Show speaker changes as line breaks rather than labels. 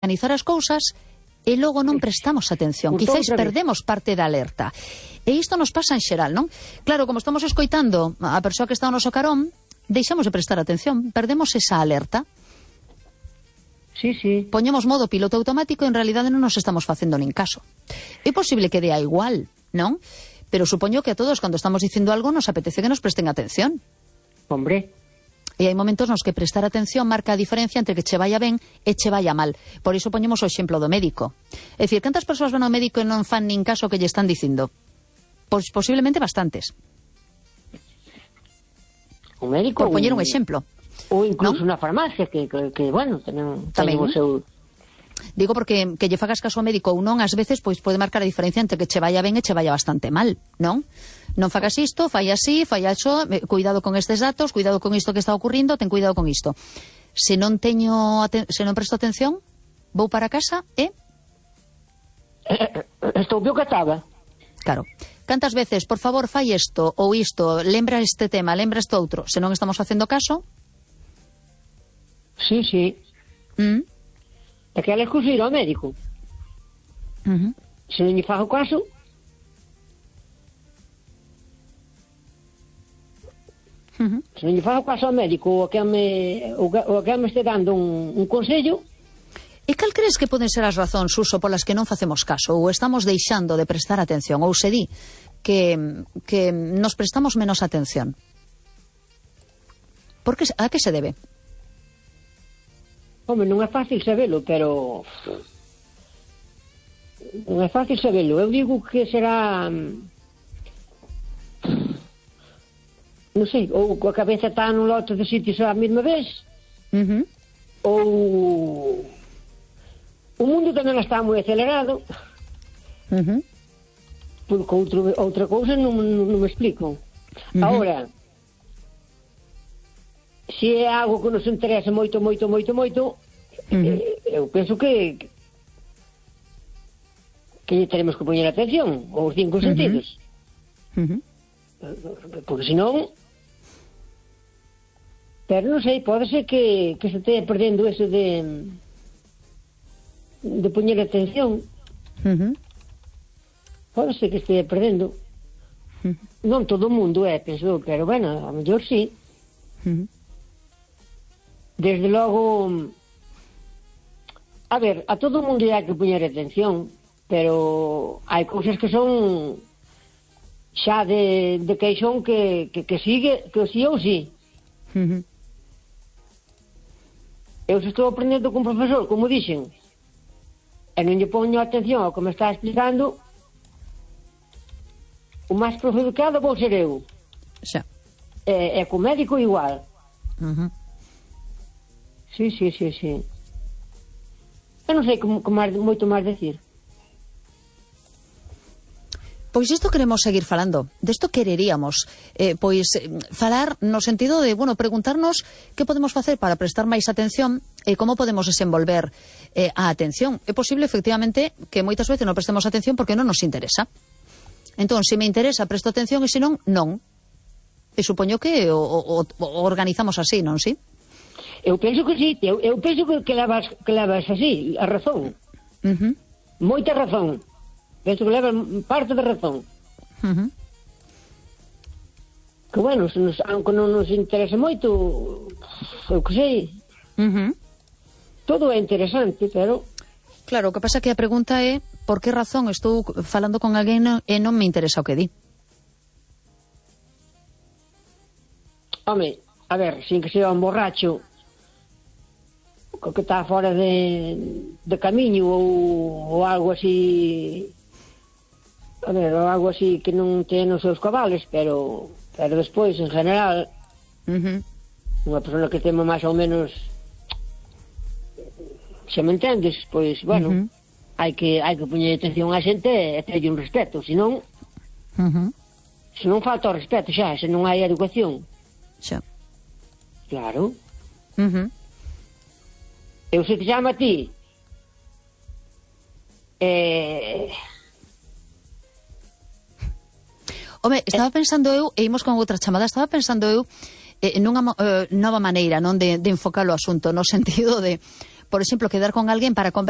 organizar as cousas e logo non prestamos atención. Quizáis perdemos parte da alerta. E isto nos pasa en xeral, non? Claro, como estamos escoitando a persoa que está ao noso carón, deixamos de prestar atención, perdemos esa alerta.
Sí, sí.
Poñemos modo piloto automático e en realidade non nos estamos facendo nin caso. É posible que dea igual, non? Pero supoño que a todos, cando estamos dicindo algo, nos apetece que nos presten atención.
Hombre.
E hai momentos nos que prestar atención marca a diferencia entre que che vaya ben e che vaya mal. Por iso poñemos o exemplo do médico. É dicir, cantas persoas van ao médico e non fan nin caso que lle están dicindo? Pois posiblemente bastantes.
O médico...
Por poñer un exemplo.
Ou incluso
¿no?
na farmacia, que bueno, tamén o seu...
Digo porque que lle fagas caso ao médico ou non, ás veces, pois pode marcar a diferencia entre que che vaya ben e che vaya bastante mal, non? Non fagas isto, fai así, fai iso, cuidado con estes datos, cuidado con isto que está ocurrindo, ten cuidado con isto. Se non presto atención, vou para casa e...
Estou peor que estaba.
Claro. Cantas veces, por favor, fai isto ou isto, lembra este tema, lembra este outro, se non estamos facendo caso...
Sí, sí. É que ela excusa ir ao médico. Se non lle fago caso... Se non lle fago caso ao médico ou a que me este dando un consello...
E cal crees que poden ser as razóns, Suso, polas que non facemos caso ou estamos deixando de prestar atención ou se di que nos prestamos menos atención? A que se debe?
Home, non é fácil sabelo, pero... Non é fácil sabelo. Eu digo que será... Non sei, ou a cabeza está nun lote de sitios á mesma vez, ou... O mundo tamén está moi acelerado, porque outra cousa non me explico. Agora... Se é algo que nos interesa moito, eu penso que teremos que poñer atención aos 5 sentidos. Porque senón... Pero non sei, pode ser que se estea perdendo eso de poñer atención. Pode ser que estea perdendo. Non todo o mundo penso, pero bueno, a mellor sí. Desde logo, a ver, a todo o mundo hai que poñer atención, pero hai cousas que son xa de queixón que sigue, que sí ou sí. Eu se estou aprendendo con profesor, como dixen, e non lle poño atención ao que me está explicando, o máis perjudicado vou ser eu.
Xa.
E co médico igual. Sí. Eu non sei moito máis decir.
Pois isto queremos seguir falando. Desto quereríamos falar no sentido de, preguntarnos que podemos facer para prestar máis atención e como podemos desenvolver a atención. É posible, efectivamente, que moitas veces non prestemos atención porque non nos interesa. Entón, se me interesa, presto atención e se non, non. E supoño que o organizamos así, non, sí?
Eu penso que sí, eu penso que levas así, a razón. Moita razón. Penso que levas parte da razón. Que bueno, aunque non nos interese moito, eu que sei. Todo é interesante, pero...
Claro, o que pasa que a pregunta é por que razón estou falando con alguén e non me interesa o que di.
Home, a ver, sin que sea un borracho que está fora de camiño ou algo así, a ver, ou algo así que non ten os seus cabales, pero despois, en general, unha persona que teme máis ou menos, se me entendes, pois, bueno, hai que poñer atención á xente e terlle un respeto, senón falta o respeto xa, se non hai educación.
Xa.
Claro. Eu se te chamo a ti
Home, estaba pensando eu, e imos con outra chamada, estaba pensando eu nunha nova maneira, non, de enfocar o asunto, no sentido de por exemplo, quedar con alguén para conversar